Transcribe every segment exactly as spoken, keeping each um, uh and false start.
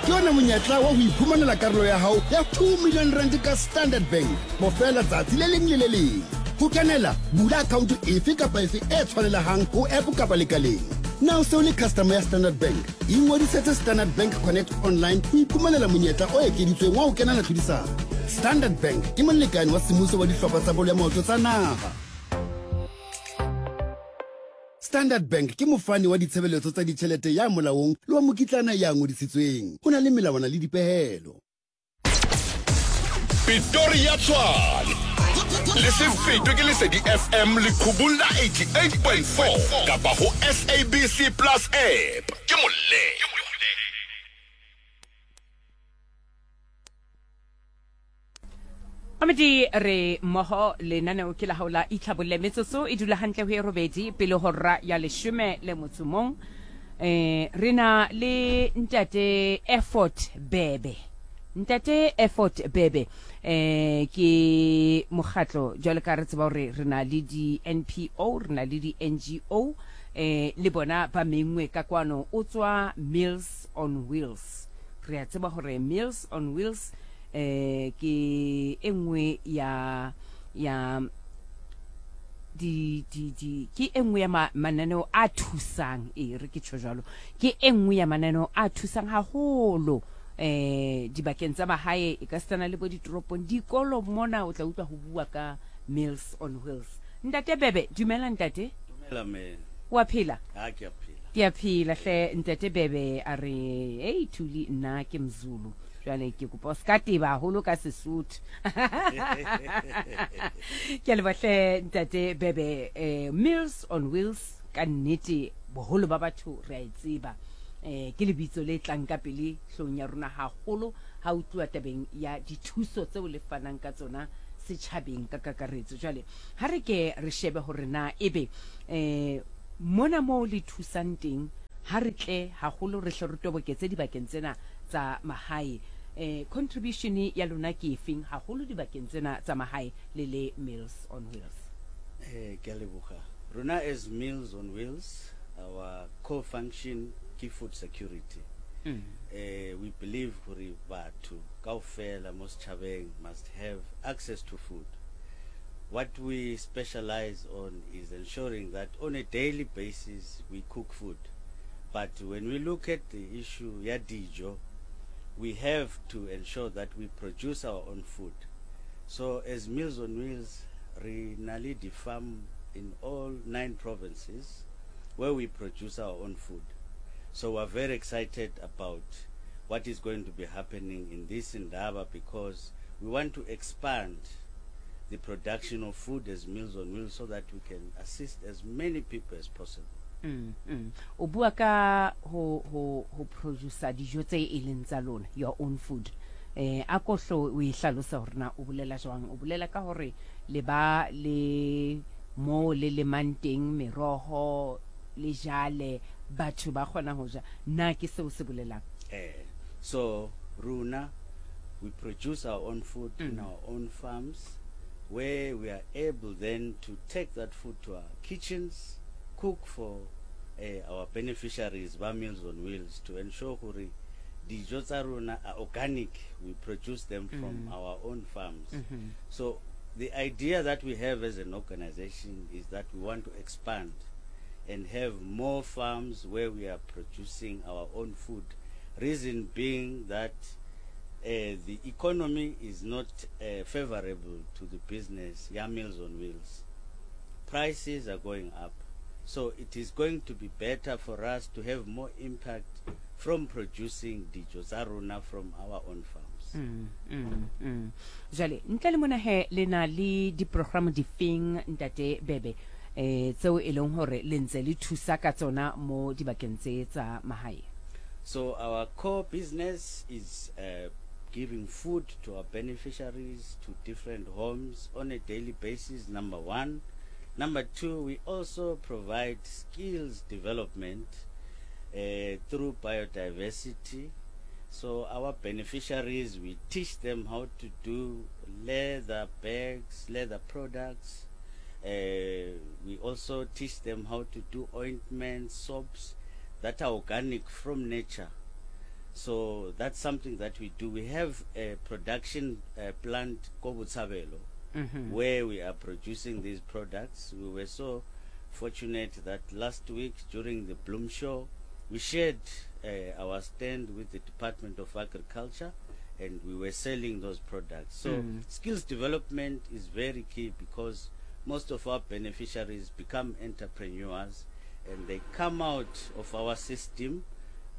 Ke ona monyetla wa ho iphumanela karolo ya hao ya two million rand ka Standard Bank bofela tsatsi le leng le le leng. Ho kenela, bula account efe kapa efe e tshwanelehang ho app kapa lekaleng. Na o se o le customer ya Standard Bank? Ingodisetse Standard Bank Connect online ho iphumanela monyetla o ekeditsweng wa ho kenela tlhodisano. Standard Bank ke molekane wa semmuso wa dihlopha tsa bolo ya maoto tsa naha. Standard Bank ke mofani wa ditshebeletso tsa ditjhelete ya molaong le wa mokitlana ya ngodisitsweng. Ho na le melawana le dipehelo. Pretoria Tshwane le se fetwe ke Lesedi F M leqhubung la eighty-eight point four kapa ho S A B C Plus app. Ke molle. Amedi re mmoho lenaneo ke la hao la itlhabolle metsotso e dula hantle ho e robedi pele hora ya leshome le motso mong. Eh re na le ntate Effort Bebe. Ntate Effort Bebe eh ke mokgatlo jwale ka re tseba hore re na le di N P O, re na le di N G O, eh le bona ba mengwe ka kwano. O tswa Meals on Wheels. Re a tseba hore Meals on Wheels eh ke e nngwe ya ya di di di ke e nngwe ya mananeo a thusang, e re ke tjho jwalo, ke e nngwe ya mananeo a thusang haholo eh dibakeng tsa mahae, e ka setsana le bo ditoropong, dikolo mona o tla utlwa ho bua ka Meals on Wheels. Ntate Bebe, dumela ntate. Dumela me. Wa phela? Ha ke a phela. Ke a phela hle ntate Bebe. A re hey Thuli, nna ke Mzulu. Jwale ke kopa o ska teba haholo ka Sesotho. Ke a leboha hle ntate Bebe. Eh, Meals on Wheels ka nnete boholo ba batho re a e tseba. Eh, ke lebitso le tlang ka pele hlong ya rona haholo ha o tluwa tabeng ya dithuso tseo le fanang ka tsona setjhabeng ka kakaretso. Jwale ha re ke re shebe hore na ebe eh mona moo le thusang teng, ha re tle haholo re hle re toboketse dibakeng tsena tsa mahae. Eh contribution ya lona ke efeng haholo dibakeng tsena tsa mahae le le Meals on Wheels? Eh ke a leboha. Rona as Meals on Wheels, our core function ke food security. Mm. Eh we believe hore batho kaofela mo setjhabeng must have access to food. What we specialize on is ensuring that on a daily basis we cook food. But when we look at the issue ya dijo, we have to ensure that we produce our own food. So as Meals on Wheels, re na le di farm in all nine provinces where we produce our own food. So we're very excited about what is going to be happening in this Indaba, because we want to expand the production of food as Meals on Wheels so that we can assist as many people as possible. Mm, mm. O bua ka ho, ho, ho producer dijo tse e leng tsa lona, your own food. Eh, a ko hlo o e hlalosa hore na o bolela jwang? O bolela ka hore le ba le mo le lemang teng meroho le jale, batho ba kgona ho ja. Na ke seo se bolelang? Eh, so rona we produce our own food mm. in our own farms, where we are able then to take that food to our kitchens, cook for uh, our beneficiaries ba Meals on Wheels, to ensure hore dijo tsa rona are organic. We produce them from mm. our own farms. Mm-hmm. So the idea that we have as an organization is that we want to expand and have more farms where we are producing our own food. Reason being that uh, the economy is not uh, favorable to the business ya Meals on Wheels. Prices are going up. So it is going to be better for us to have more impact from producing dijo tsa rona from our own farms. Mm, mm, mm. Jwale, ntle le mona he, le na le di-program difeng, ntate Bebe, eh, tseo e leng hore le ntse le thusa ka tsona mo dibakeng tse tsa mahae? So our core business is uh, giving food to our beneficiaries, to different homes on a daily basis, number one. Number two, we also provide skills development uh, through biodiversity. So our beneficiaries, we teach them how to do leather bags, leather products. Uh, we also teach them how to do ointments, soaps that are organic from nature. So that's something that we do. We have a production uh, plant, ko Botshabelo, Mm-hmm. where we are producing these products. We were so fortunate that last week during the Bloom Show, we shared uh, our stand with the Department of Agriculture, and we were selling those products. So Mm. skills development is very key, because most of our beneficiaries become entrepreneurs and they come out of our system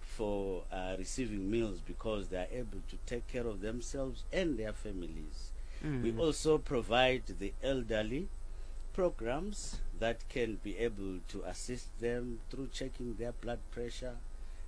for, uh, receiving meals, because they are able to take care of themselves and their families. Mm. We also provide the elderly programs that can be able to assist them through checking their blood pressure,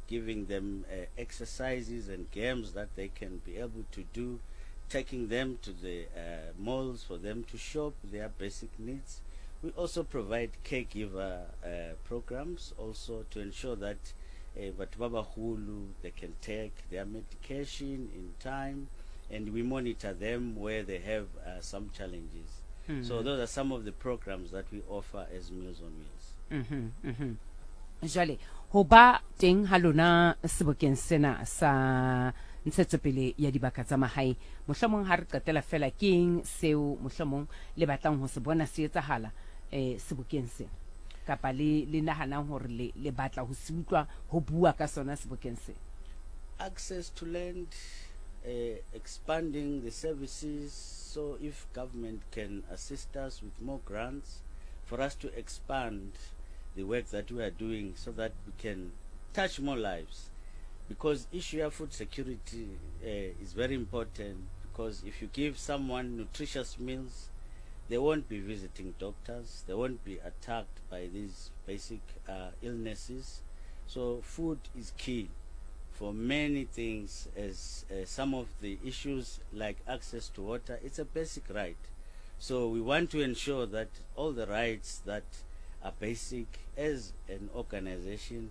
giving them, uh, exercises and games that they can be able to do, taking them to the, uh, malls for them to shop their basic needs. We also provide caregiver, uh, programs also to ensure that, uh, batho ba baholo, they can take their medication in time, and we monitor them where they have, uh, some challenges. Mm. So those are some of the programs that we offer as Meals on Wheels. Mm-hmm, mm-hmm. Jwale, ho ba teng ha lona sebokeng sena sa ntshetsopele ya dibaka tsa mahae, mohlomong ha re qetela fela, ke eng seo mohlomong le batlang ho se bona se etsahala, eh, sebokeng sena? Kapa le, le nahanang hore le, le batla ho se utlwa ho bua ka sona sebokeng sena? Access to land, uh, expanding the services. So if government can assist us with more grants for us to expand the work that we are doing so that we can touch more lives. Because issue of food security, uh, is very important, because if you give someone nutritious meals, they won't be visiting doctors, they won't be attacked by these basic, uh, illnesses. So food is key for many things, as, uh, some of the issues like access to water, it's a basic right. So we want to ensure that all the rights that are basic as an organization,